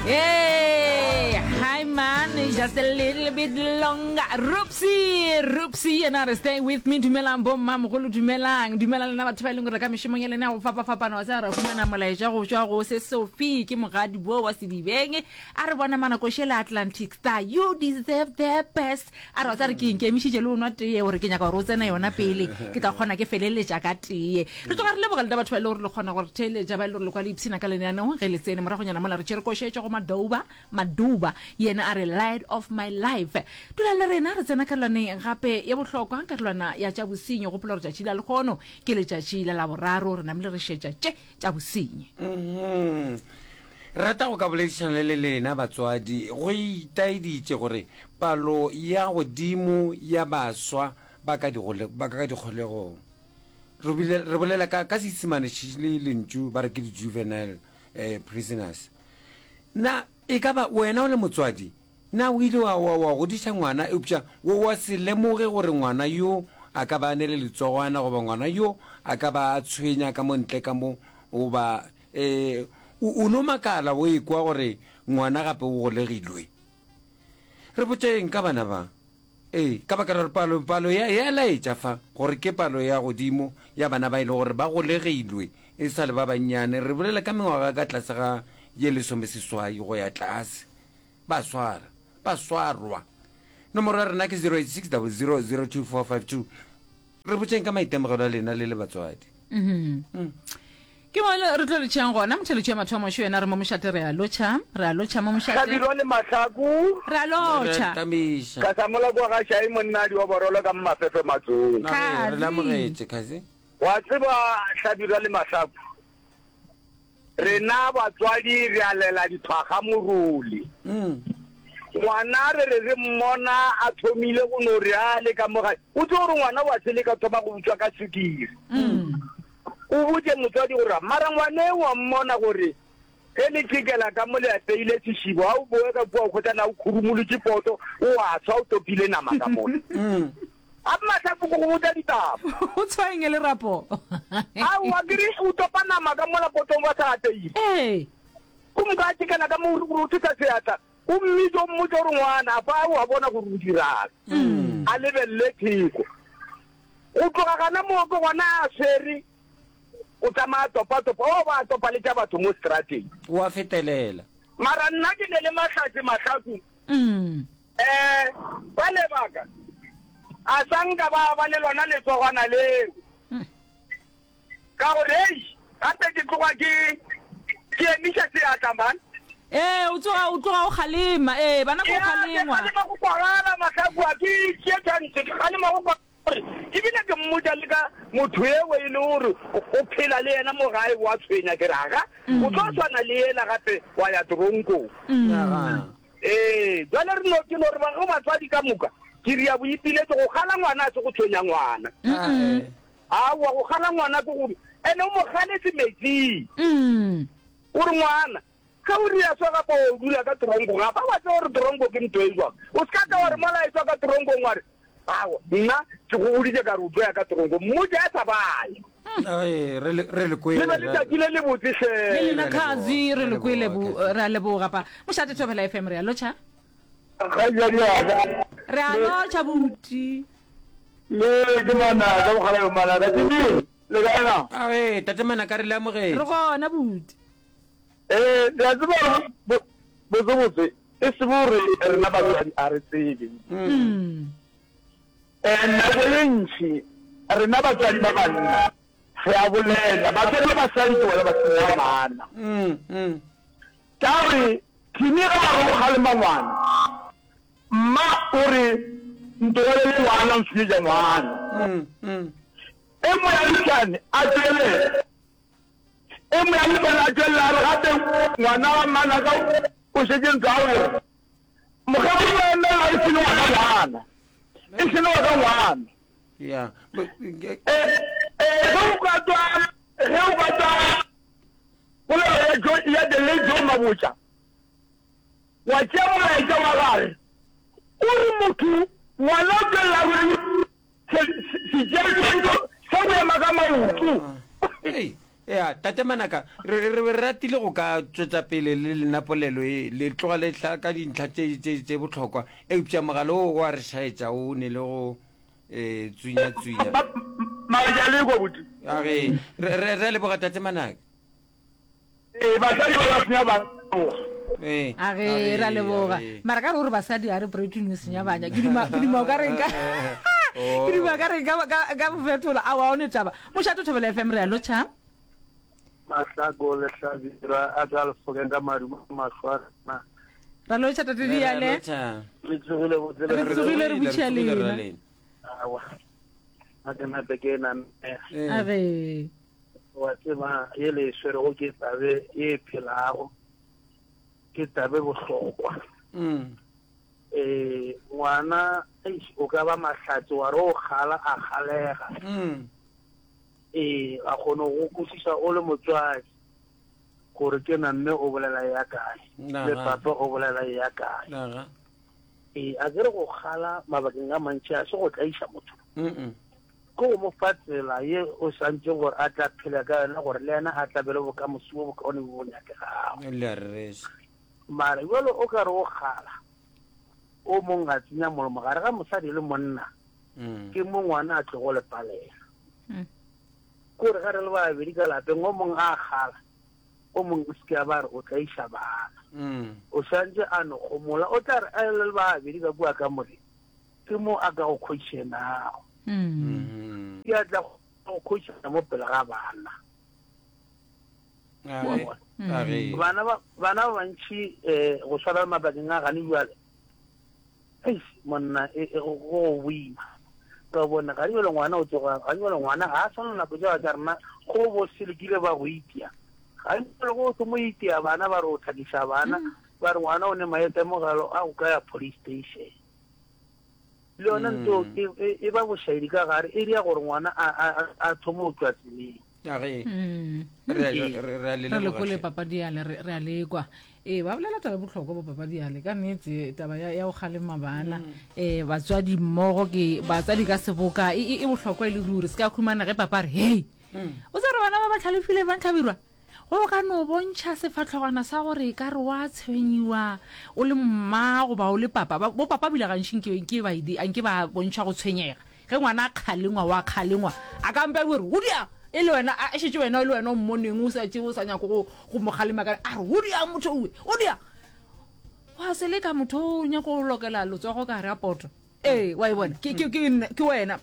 Hey, hi man, just a little bit longer. Rupsi, Rupsi, yena re stay with me. Dumelang bo mma mogolo, dumelang. Dumelang lena batho ba e leng gore ka mešomong ya lena ya go fapafapana wa tsaya ra fumana molaetša go tšwa go se Sophie ke mogadi bo wa Sedibeng. A re bona manakoše le Atlantic Star, you deserve the best. A re wa tsaya re ke ikemišitše le o nwa tee gore ke nyaka gore o tsene yona pele ke tla kgona ke feleletša ka tee. Re tloga re leboga lena batho ba e le gore le kgona go re theeletša, ba e le gore le kwa le ipshina ka lenaneong ge le tsene. Moragonyana mola re tšere košetšo go Madouba, Maduba yena a re Light of my life. Dulang le rena re tsena karolwaneng gape ye bohlokwa, karolwana ya tša bosenyi. Gopola gore tšatši la lehono ke letšatši la Laboraro, re namile re šetša tše tša bosenyi. Mhm. Re rata go ka boledišana le lena batswadi. Go itaeditše gore palo ya godimo ya baswa ba ka ba ka dikgolegong. Re bile re bolela ka ka Seisemane le lentšu ba re ke di-juvenile eh, prisoners. Na e ka ba wena o le motswadi, na o ile wa, wa, wa godiša ngwana eupša wa, wa se lemoge gore ngwana yo a ka ba a ne le letsogwana goba ngwana yo a ka ba a tshwenya ka mo ntle ka mo goba eh, o, o no makala o ekwa gore ngwana gape o golegilwe? Re botšeng ka bana ba. Ee, ka baka la gore palo, palo ya, ya laetša fa gore ke palo ya godimo ya bana ba e le gore ba golegilwe e sa le ba bannyane. Re bolela ka mengwaga ka tlase ga ye lesomeseswai go ya tlase. Ba swara, ba swarwa. Nomoro ya rena ke 086 00 02452. Re botšeng ka maitemogelo a lena le le batswadi. Mm. Ke mo re tlo letšhang gona motheletšo ya mathomo šo yena re mo mošate re a lotšha re a lotšha mo mošate. Hlabirwa le Mahlaku. Re a lotšha. Ka sa mola kwa ga Šai monnadi wa Borolo ka Mmafefe Matsong. Re le amogetše Khazi. Wa tseba Hlabirwa le Mahlaku Rena batswadi re a lela dithwaga morole. Ngwana re re re mmona a thomile go no re a le ka mo gae. O tsebe gore ngwana wa seleka thoma go utswa ka sukiri. O botše motswadi gore mara ngwane wa mmona gore ge le tšekela ka mo le apeile sešebo ga o boe ka kua o hwetša na o khurumolotše poto o a swa o topile nama ka mola. A Mahlaku ke go botša ditaba. O tshwaeng e lerapo. Aowa ke re o topa nama ka mola potong ba sa apeile. Ee. O moka a tšekela ka mo o re o thetha seatla o mmitše o mmotše gore ngwana a fa o a bona gore o dirang. A lebelele theko. Go tloga gana moo ke gona a swere o tsamaya a topa-topa o ba a topa le tša batho mo strateng. O a fetelela. Mara nna ke ne le Mahlatse Mahlaku. Eh, ba lebaka a sa nka ba ba le lona letsogwana leo. Ka gore hei, gape ke tloga ke ke emiša seatla man. Ee, o tsoga o tloga o kgalema. Ee, bana ko Ya, ke kgalengwa. kgalema go kwagala mahlaku a ke tšee chance, ke kgalema go kwa gore ebile ke mmotša le ka motho ewe e le gore o phela le yena mo gae wa tshwenya ke re aga o tlo swana le yela gape wa ya toronkong. Ee, bjale re no, ke no re ba go batswadi ka moka, ke ria boipiletšo, go kgala ngwana a se go tshwenya ngwana. Aowa, go kgala ngwana ke gore, ene o mo kgaletse metsing. O re ngwana, ge o ria so gape o dula ka toronkong, ga ba wa tseba gore toronko ke ntho e jwang. O se ka tla wa re mola e tswa ka toronkong wa re, Aowa, nna ke go boditše ka re o tlo ya ka toronkong. Mmotše a sa baya. Ee, re le, re le kwele. Le be letšatši le lebotse hle. Le lena Khazi, re le kwele bu, re a leboga pa. Mošate Thobela FM, re a lotšha. Kgaitsadi ya ka. Re a lotšha buti. Le ke Manaka, mokgalabje Manaka. Timi, le kae na? Ae, tate Manaka re le amogetše. Re gona buti. Ee, le a tseba gore botsebotse e se gore rena batswadi a re tsebe. Ee, nako ye ntši rena batswadi ba banna re a bolela, batswadi ba basadi ke bona ba senya bana. Ka gore Timi ge a re o kgalema ngwana, mma o re ntogelele ngwana o nsenyetša ngwana. E moagišane a tšwelela. E moagišane a tšwelela a re gape ngwana wa mmanaka o šetše ntse a gore mokgekolo wa emela e sele wa ka ngwana, e sele wa ka ngwana. Yeah. E, e, ge o ka twa, ge o ka twa polelo ya Jo, ya the late Joe Mabotja, wa tšea molaetša wa gage, o re motho ngwana o tšwelela a rwele se, se, setšeatšwantšo sa go ema ka maoto. Hey. Ya, Tate Manaka, re, re be re ratile go ka tšwetša pele le lena polelo ye, le tloga le tla ka dintlha tše, tše, tše bohlokwa, eupša mogala wo o a re šaetša, o ne le go eh, tswinya-tswinya. Mara ke a le kwa, buti. A ge, re, re, re a leboga, Tate Manaka. Ee, basadi ba ba senya bana. Ee, A ge, re a leboga. Mara ka re o re basadi a re protein o senya bana. Ke duma, ke duma o ka re nka, ke duma ka re nka, ka, ka mo fetola. Aowa, o ne taba. Mošate Thobela FM, re a lotšha. Mahlako le Hlabirwa a tla lefokeng ka madumo a mahlo a rena. Ra lotšha Tate Diale. Le tsogile botse le Re tsogile re butšha lena. Awa. A ke nape ke namela. A ge. Wa tseba ye le e swerego ke tabe ye e phelago, ke tabe bohlokwa. Mm. Eh, ngwana eish, o ka ba mahlatse wa re o kgala a kgalega. Mm. Ee, a kgone go kwešiša o le motswadi gore ke na mme o bolela ya kae le papa o bolela ya kae. Ee, a ke re go kgala mabakeng a mantši a se go tlaiša motho. Mm. Ke go mo fa tsela ye o swantšeng gore a tla phele ka yona gore le yena a tla be le bokamoso bo bokaone bo bo nyakegago. Le a rereša. Mara bjalo o ka re o kgala, o mong a tsenya molomo gare ga mosadi le monna, ke mo ngwana a tlogo le palela. Ke gore ge re le babedi ka lapeng, o mong a kgala, o mong o se ke a ba re o tlaiša bana. O swantše a no gomola, o tla re a le le babedi ka kua kamoreng, Ke mo a ka go khoišenago. Ke a tla go khoišana mo pele ga bana. Bana ba bana ba bantši um go swana le mabakeng a gane jwale, eish monna e, e, go go boima. Ka bona gane jwale ngwana o tsoga, gane jwale ngwana ga a swana le nako tša tša rena go bo selekile ba go itia. Gane jwale go se mo itia bana ba re o thakiša bana, ba re ngwana o ne maitemogelo a go ka ya police station. Le yona nto e, e, e ba bošaedi ka gare, e dira gore ngwana a, a, a, a thome go tšwa tseleng. A ge Mm. re a- re- re a le Re leboga lekole hle. papa Diale, re re a lekwa. Ee, ba bolela taba e bohlokwa bo papa Diale, ka nnete taba ya, ya go kgalema bana. Eh, batswadi mmogo ke batswadi ka seboka e, e, e bohlokwa e le ruri. Se ka khumana ge papa a re, hei, o tseba gore bana ba ba hlalefile ba Hlabirwa? Go ka no bontšha sefahlogwana sa gore e ka re wa tshwenyiwa o le mma goba o le papa. Ba, bo papa bile gantši nke, nke ba, nke ba bontšha go tshwenyega. Ge ngwana a kgalengwa, wa kgalengwa, a ka mpa gore, Go diang? E le wena, a, e šetše wena, e le wena o mmoneng o sa tše, o sa nyake go, go mo kgalema ka, a re, Go diang motho owe? Go diang? Wa seleka motho o nyaka go lokela letsogo ka gare ga poto. Ee, wa e bona? Ke, ke, ke, nna, ke wena.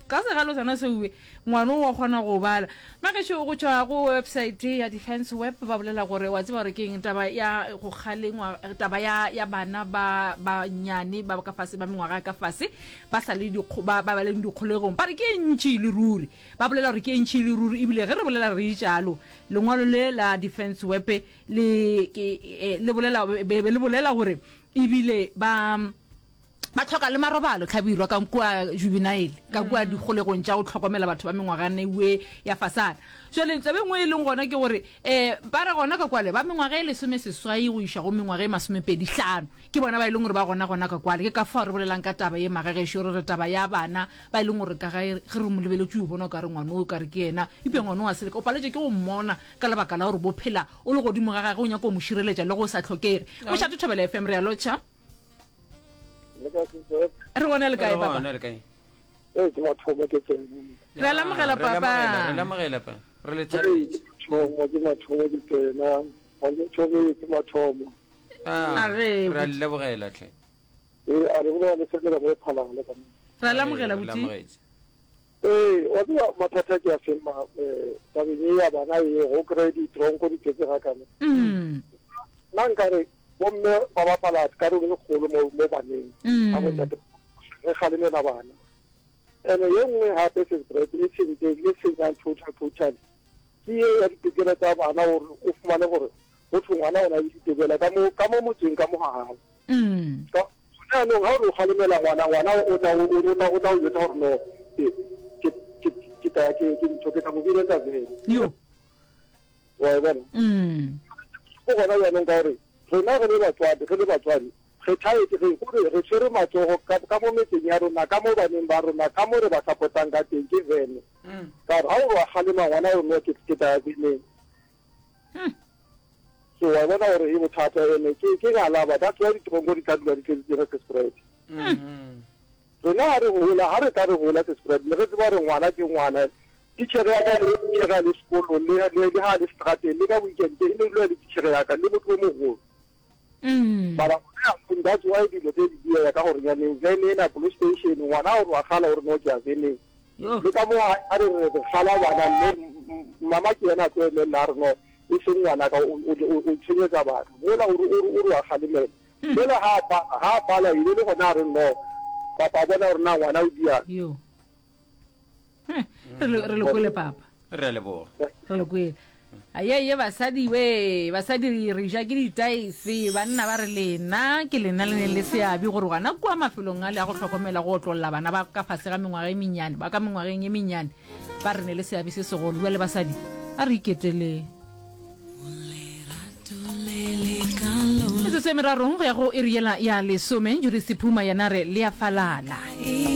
Ka segalo sona seuwe, ngwana o wa kgona go bala. Magešo, go tšwa go website ya Defence Web, ba bolela gore, wa tseba gore ke eng, taba ya go kgalengwa, taba ya, ya bana ba bannyane ba ka fase, ba mengwaga ya ka fase, ba sa le dikgo, ba, ba ba leng dikgolegong, ba re ke e ntši e le ruri. Ba bolela gore ke e ntši e le ruri, ebile ge re bolela re itšalo, lengwalo le la Defence Web le, ke, eh, le bolela, be, be le bolela gore ebile ba, Ba hloka le marobalo, Hlabirwa, ka kua juvenile, ka kua dikgolegong tša go hlokomela batho ba mengwagana ewe ya fasana. Jwale taba e nngwe e leng gona ke gore um ba re gona ka kwale ba mengwaga e lesomeseswai go iša go mengwaga e masomepedihlano ke bona ba e leng gore ba gona gona ka kwale. Ke ka fao re bolelang ka taba ye magagešo, re re taba ya bana ba e leng gore ka gae ge re mo lebeletše o bona o ka re ngwana o ka re ke yena, eupša ngwana o a seleka, o paletše ke go mmona ka lebaka la gore bo phela o le godimo ga gage o nyaka go mo šireletša le ge o sa hlokege. Mošate Thobela FM, re a lotšha. Re gona le kae papa? le kae? Ee, ke mathomo ke tsena. Re a lamogela papa. Re lamogela pa. Re le thabetše. Mathomo ke mathomo ke tsena. Ga ke thobetse mathomo. Ah, re a le lebogela tlhe. Ee, a re bolela le sekela mo phalala ka mo. Re a lamogela buti. Ee, wa tseba mathata ke a feng ma eh, tabeng e ya bana e go kry ditronko di tletse ga kana. Mm. Nna nkare Bomme ba bapala karolo e kgolo mo, mo baneng. Ka mm. botate re kgalemela bana. Ene ye nngwe gape sesbret e sentse e senyang total total ke ye ya ditokelo tsa bana gore o fumane gore go thwe ngwana o na le ditokelo ka mo ka mo motseng ka mo ga gago. Mm. Ka jaanong ga o re o kgalemela ngwana ngwana o tla o o tla o tla o jwetsa gore no ke ke ke ke tla ke ke ntho ke tla mo biletsa vele. Yo. Wa e bona? Mm. Go gona jaanong ka gore rena re le batswadi re le batswadi. Re thaetše, re, gore re tshwere matsogo ka, ka mo metseng ya rona, ka mo baneng ba rona, ka mo re ba sapotang ka teng, ke vene. Ka gore ga o re wa kgalema ngwana o re no ke, ke tla ya veneng. So wa bona gore e bothata ene ke, ke ngalaba, that's why ditronko di tla dula di tletse tse Sesprite. Rena ga re gola, ga re tla re gola Sesprite, ne re tseba gore ngwana ke ngwana. Titšhere ya ka le titšhere a le sekolong, le, le, le ga a le strateng, le ka weekend, e ne dula e le titšhere ya ka, le motho o mogolo. Mara gone jaanong that's why dilo tse di diega ka gore nyaneng vene ena police station ngwana o re wa gala o re no ke ya veneng. Le ka mo a re re gala bana mme mama ke yena a tlo emelela a re no e seng ngwana ka o o tshenyetsa batho. Mola o re o re wa galemela. Mola ha a ha a pala e be le gona a re no papa bona gore na ngwana o diang. Yo. Re le kwele papa. Re a leboga. Re le kwele. Aye basadi we, basadi re ja ke ditaese, banna ba re lena ke lena le neng le seabe gore gona kua mafelong a le a go hlokomela go otlolla bana ba ka fase ga mengwaga e mennyane, ba ka mengwageng e mennyane, ba re ne le seabe se segolo. Bjale basadi, a re iketeleng. Metsotso e merarong go ya go iri yela ya lesome, Judith Sephuma yena re le a falala.